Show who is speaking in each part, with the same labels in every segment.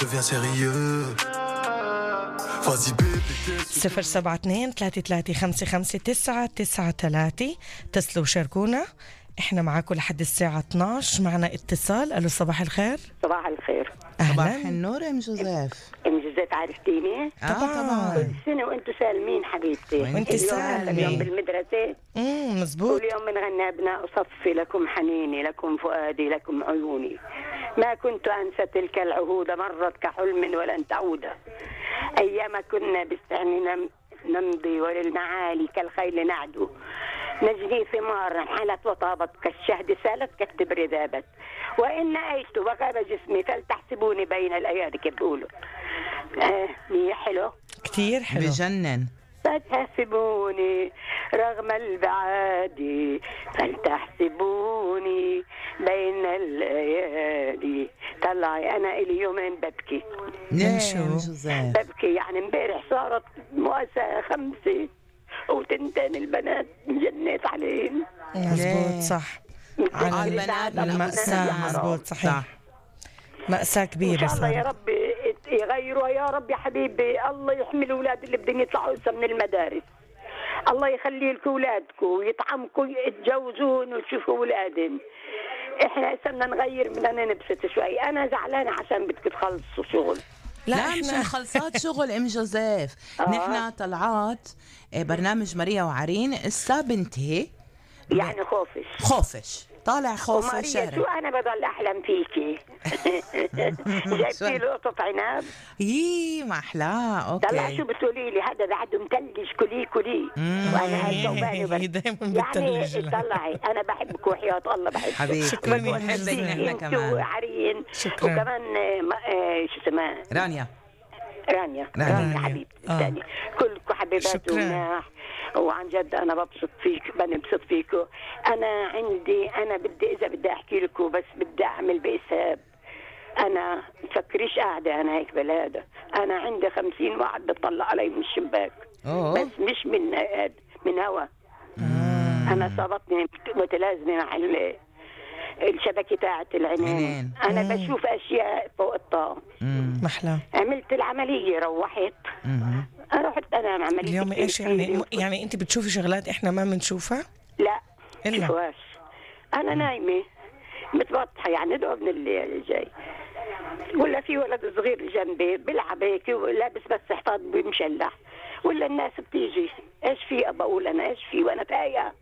Speaker 1: Deviens sérieux. Vas-y bébé.
Speaker 2: 072-33-55-993 اتصلوا وشاركونا. احنا معاكم لحد الساعة 12. معنا اتصال. الو صباح الخير.
Speaker 3: صباح الخير.
Speaker 4: صباح
Speaker 2: اهلا.
Speaker 4: النور ام جوزيف.
Speaker 3: ام جوزيف عرفتيني؟
Speaker 2: طبعا.
Speaker 3: كل سنة وانتم سالمين حبيبتي.
Speaker 2: وانت سالمة.
Speaker 3: اليوم بالمدرسة
Speaker 2: مزبوط.
Speaker 3: كل يوم بنغني أبناء صفي لكم حنيني لكم فؤادي لكم عيوني ما كنت أنسى تلك العهود مرت كحلم ولن تعود أيام كنا بالسعن نمضي وللمعالي كالخيل نعدو نجني ثمار حلت وطابت كالشهد سالت كالتبر ذابت وإن أيت وغاب جسمي فلتحسبوني بين الأيادي كبقولوا حلو
Speaker 2: كتير حلو
Speaker 4: بجنن.
Speaker 3: فتحسبوني رغم البعاد فلتحسبوني بين الأيادي. طلعي أنا إلي يومين ببكي.
Speaker 4: ليش ام جوزيف؟
Speaker 3: ببكي يعني امبارح صارت مؤسسة 5 وتنتين البنات جنيت عليهم.
Speaker 2: مزبوط صح.
Speaker 4: على البنات
Speaker 2: المأساة. مزبوط صحيح. مأساة كبيرة.
Speaker 3: إن شاء الله يا
Speaker 2: صارت.
Speaker 3: رب يغيروا يا رب يا حبيبي. الله يحمي الأولاد اللي بدهم يطلعوا هسه من المدارس. الله يخلي لكم أولادكم ويطعمكم يتجوزون وتشوفوا أولادهم. إحنا هسه بدنا نغير بدنا نبسط شوي. أنا زعلانة عشان بدكم تخلصوا شغل.
Speaker 4: لا مش خلصات شغل ام جوزيف. نحن طلعات برنامج ماريا وعرين السا بنتي
Speaker 3: يعني
Speaker 4: خوفش طالع خوفش
Speaker 3: وماريا شو أنا بضل أحلم فيكي. جايبتي له قطة عنب.
Speaker 4: يي ما أحلاه.
Speaker 3: طلع
Speaker 4: أوكي
Speaker 3: شو بتقولي لي هذا بعده متلج كلي وأنا هالجوباني بس
Speaker 2: دايما
Speaker 3: يعني
Speaker 2: بتلج.
Speaker 3: طلعي أنا بحبك وحياة الله بحبك
Speaker 4: حبيبي.
Speaker 2: شكراً يا
Speaker 4: بنحبك نحن
Speaker 3: انتو
Speaker 4: كمان.
Speaker 3: عرين
Speaker 2: شكراً.
Speaker 3: وكمان شو اسمها
Speaker 4: رانيا
Speaker 3: رانيا حبيبتي الثانية كلكم حبيبات
Speaker 2: شكراً.
Speaker 3: ومناح وعن جد أنا ببسط فيك بنبسط فيكم. أنا بدي إذا بدي أحكي لكم بس بدي أعمل بحساب. أنا تفكريش قاعدة أنا هيك بالهذا. أنا عندي 50 واحد بتطلع علي من الشباك. بس مش من هوا. أنا صابتني متلازمة مع الشبكة تاعت العينين. أنا بشوف أشياء فوق الطاقة.
Speaker 2: محلى.
Speaker 3: عملت العملية روحت رحت أنا عملية
Speaker 2: اليوم إيش يعني أنت بتشوفي شغلات إحنا ما بنشوفها؟
Speaker 3: لا
Speaker 2: إلا
Speaker 3: شوفواش. أنا نايمة متبطحة يعني دوب من الليل جاي ولا في ولد صغير جنبي بلعب هيك ولابس بس حفاض بمشلح ولا الناس بتيجي إيش في بقول أنا إيش في وأنا تايهة.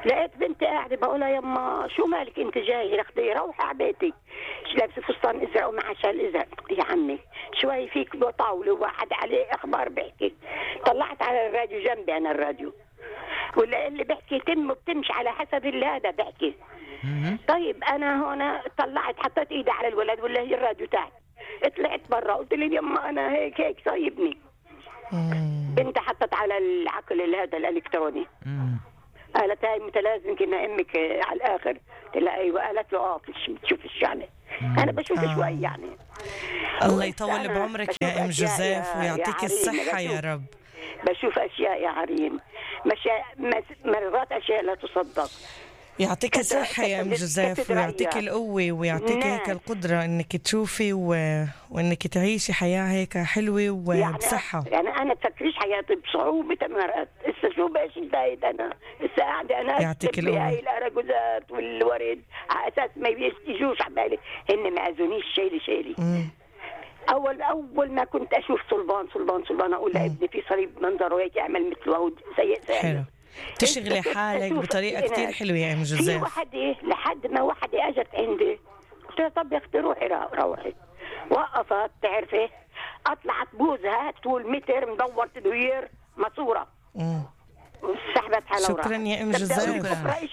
Speaker 3: لقيت بنتي قاعدة بقولها يما شو مالك انت جاي رخدي روحي على بيتك لابسة فستان ازرق ومع شال ازرق. يا عمي شوي فيك طاولة وواحد عليه اخبار بحكي. طلعت على الراديو جنبي انا الراديو ولا اللي بحكي تم بتمشي على حسب اللي هذا بحكي. طيب انا هنا طلعت حطيت ايدي على الولد ولا هي الراديو تحت طلعت برا قلت لي يما انا هيك صايبني. بنتي حطت على العقل هذا الالكتروني. قالت هاي متلازم كنا امك على الاخر. قلت لها ايوه. قالت له بتشوفش يعني. انا بشوف شوي يعني.
Speaker 2: الله يطول بعمرك يا ام جوزيف ويعطيك الصحة يا رب.
Speaker 3: بشوف اشياء يا عرين مرات اشياء لا تصدق.
Speaker 2: يعطيك الصحة يا ام جوزيف ويعطيك القوة ويعطيك هيك القدرة انك تشوفي وانك تعيشي حياة هيك حلوة وبصحة.
Speaker 3: يعني انا تفكريش حياتي بصعوبة مرات. اسا شو باش انتهيت انا اسا قاعدة انا
Speaker 2: يعطيك القوة.
Speaker 3: هاي الأراجوزات والورد على اساس ما يجوش عبالي هن ما اذونيش شيلي. اول ما كنت اشوف صلبان اقول لابني في صليب منظره هيك اعمل مثله سيء.
Speaker 2: حلو. تشغلي حالك بطريقة كتير حلوة يا ام جوزيف.
Speaker 3: في وحدة لحد ما وحدة اجت عندي قلت لها طب يا اختي روحي وقفت تعرفي اطلعت بوزها طول متر مدور تدوير ماسورة سحبت حالها.
Speaker 2: شكرا يا ام جوزيف.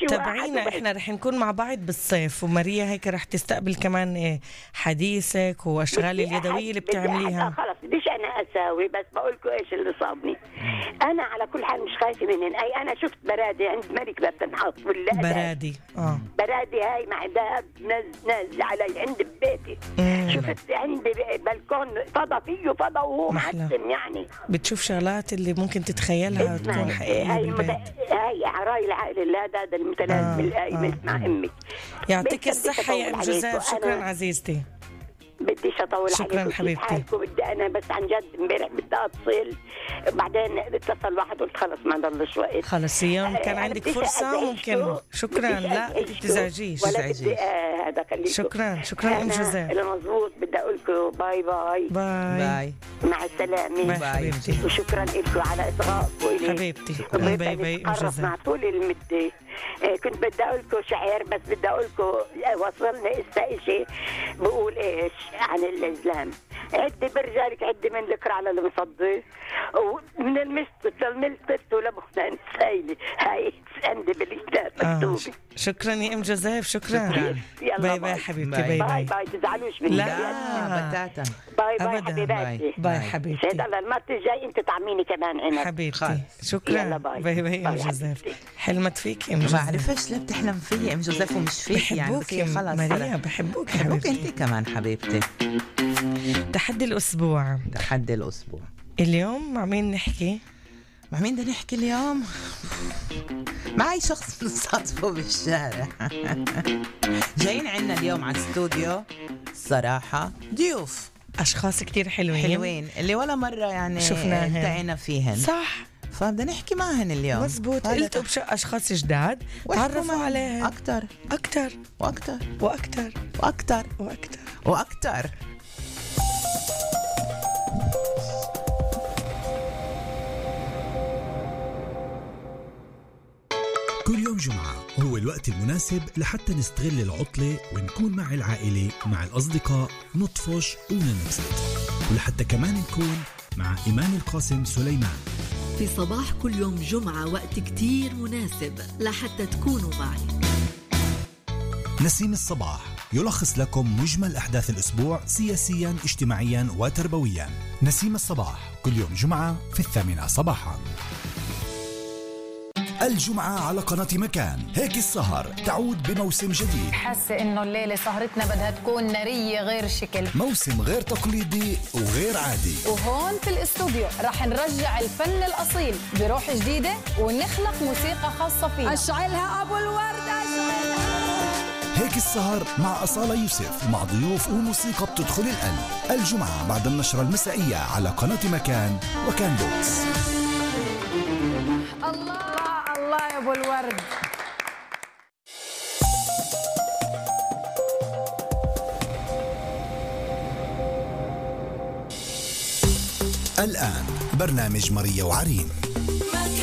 Speaker 2: تابعينا احنا رح نكون مع بعض بالصيف وماريا هيك رح تستقبل كمان حديثك واشغال اليدويه اللي بتعمليها.
Speaker 3: خلص بديش انا اساوي بس بقولكم ايش اللي صابني. انا على كل حال مش خايفه منهن. اي انا شفت برادي عند ملك بتنحط ولا
Speaker 2: برادي
Speaker 3: برادي هاي مع دهب ناز علي عند ببيتي. شفت عندي بلكون فضا فيه فضا وهو معتم يعني.
Speaker 2: بتشوف شغلات اللي ممكن تتخيلها تكون حقيقية بالبيت.
Speaker 3: هاي عراي العائلة هذا المتلازم القايم مع امك.
Speaker 2: يعطيك الصحة يا ام جوزيف. شكرا عزيزتي.
Speaker 3: بديش اطول
Speaker 2: شكراً
Speaker 3: عليكم.
Speaker 2: حبيبتي.
Speaker 3: حالكم؟ بدي انا بس عن جد امبارح بدي اتصل، بعدين اتصل واحد قلت خلص ما ضلش وقت.
Speaker 2: خلص يوم كان عندك
Speaker 3: بديش
Speaker 2: فرصة ممكن. شكرا. لا تزعجيش.
Speaker 3: ولا بدي هذا خليكم.
Speaker 2: شكرا ام جوزيف.
Speaker 3: المضبوط بدي اقول لكم باي باي
Speaker 4: باي
Speaker 3: مع السلامه.
Speaker 2: باي حبيبتي.
Speaker 3: وشكرا لكم على اصغائكم.
Speaker 2: حبيبتي باي باي ام جوزيف.
Speaker 3: مع طول المده. كنت بدي اقول لكم شعر بس بدي اقول لكم وصلنا شيء بقول ايش عن الازلام. عدي برجالك عدي من ذكر على المصدي ومن المست للملتت ولبخنا نسايلي. هاي عندي بالكتاب مكتوبه.
Speaker 2: شكرا يا ام جوزيف. شكرا. باي باي حبيبتي. باي
Speaker 3: باي تزعلوش مني.
Speaker 2: لا
Speaker 4: بتاتا.
Speaker 3: باي
Speaker 2: أبداً.
Speaker 3: حبيباتي.
Speaker 2: باي حبيبتي.
Speaker 3: سيد الله المرة الجاي انت طعميني كمان عنب
Speaker 2: حبيبتي. شكرا.
Speaker 3: يلا باي.
Speaker 2: باي ام جوزيف. حلمت فيك يا ام جوزيف.
Speaker 4: ما بعرفش ليه بتحلم فيي ام جوزيف ومش فيك يعني.
Speaker 2: بحبوك يا
Speaker 4: خلص
Speaker 2: ماريا. بحبوك
Speaker 4: بحبوك
Speaker 2: حبيبتي.
Speaker 4: انت كمان حبيبتي.
Speaker 2: تحدي الأسبوع.
Speaker 4: تحدي الأسبوع
Speaker 2: اليوم مع مين نحكي؟
Speaker 4: مع مين بدنا نحكي اليوم؟ معي شخص بنصادفه بالشارع. جايين عنا اليوم على الاستوديو الصراحة ضيوف
Speaker 2: أشخاص كتير حلوين
Speaker 4: اللي ولا مرة يعني
Speaker 2: شفناهن.
Speaker 4: التقينا فيهن.
Speaker 2: صح.
Speaker 4: فبدنا نحكي معهن اليوم.
Speaker 2: مزبوط. قلتوا أشخاص جداد تعرفوا عليهم
Speaker 4: أكتر
Speaker 2: أكتر
Speaker 4: وأكتر
Speaker 2: وأكتر
Speaker 4: وأكتر
Speaker 2: وأكتر
Speaker 4: وأكتر.
Speaker 5: كل يوم جمعة هو الوقت المناسب لحتى نستغل العطلة ونكون مع العائلة مع الأصدقاء نطفش وننبسط، ولحتى كمان نكون مع إيمان القاسم سليمان
Speaker 6: في صباح كل يوم جمعة. وقت كتير مناسب لحتى تكونوا معي.
Speaker 5: نسيم الصباح يلخص لكم مجمل أحداث الأسبوع سياسياً اجتماعياً وتربوياً. نسيم الصباح كل يوم جمعة في 8 صباحاً. الجمعة على قناة مكان. هيك السهر تعود بموسم جديد.
Speaker 7: حاسة إنه الليلة سهرتنا بدها تكون نارية غير شكل،
Speaker 5: موسم غير تقليدي وغير عادي.
Speaker 7: وهون في الاستوديو رح نرجع الفن الأصيل بروح جديدة ونخلق موسيقى خاصة فينا. أشعلها أبو الورد أشعلها.
Speaker 5: هيك السهر مع أصالة يوسف مع ضيوف وموسيقى بتدخل القلب. الجمعة بعد النشرة المسائية على قناة مكان وكان بوكس.
Speaker 7: الله الله يا أبو الورد.
Speaker 5: الآن برنامج ماريا وعرين.